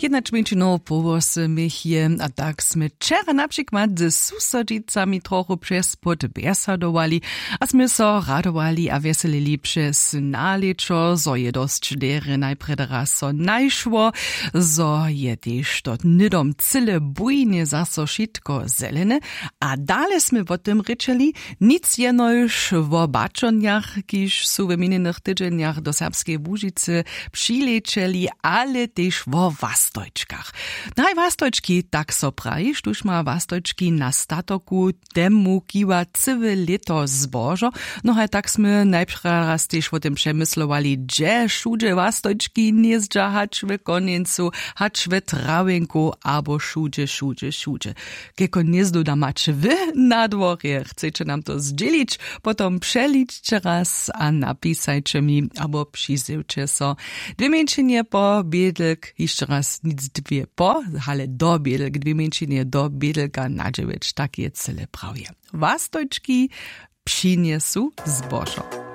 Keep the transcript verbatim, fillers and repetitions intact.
Jednačmjeńšinow połosy měch je a tak smy wčera na přikład z susodźicami trochu přez płót bjesadowali, a smy so radowali a wjeselili přez nalěćo, zo je dosć derje najprjedy raz so najšło, zo je tež to hnydom cyle bujnje zaso wšitko zelene. A dale smy wo tym rěčeli, nic jenož wo baćonjach, kiž su w minjenych tydźenjach do serbskeje łužicy přilěćeli, ale tež wo wastojčkach. Haj wastojčki, tak so praji, štóž ma wastojčki na statoku, temu kiwa cyłe lěto zbožo. No haj tak smy najprjedy raz tež wo tym přemyslowali, hdźe wšudźe wastojčki hnězdźa, hač w konjencu, hač w trawjenku abo wšudźe wšudźe wšudźe. Keko hnězdo da maće wy na dworje, chceće nam to zdźělić, potom přeličće raz a napisajće mi abo přizjewće so. Dwě mjeńšinje po bědlk, hišće raz nic dwě po, ale do bědlk, dwě mjeńšinje do bědlka na dźewjeć, tak je cyle prawje. Wastojčki přinjesu zbožo.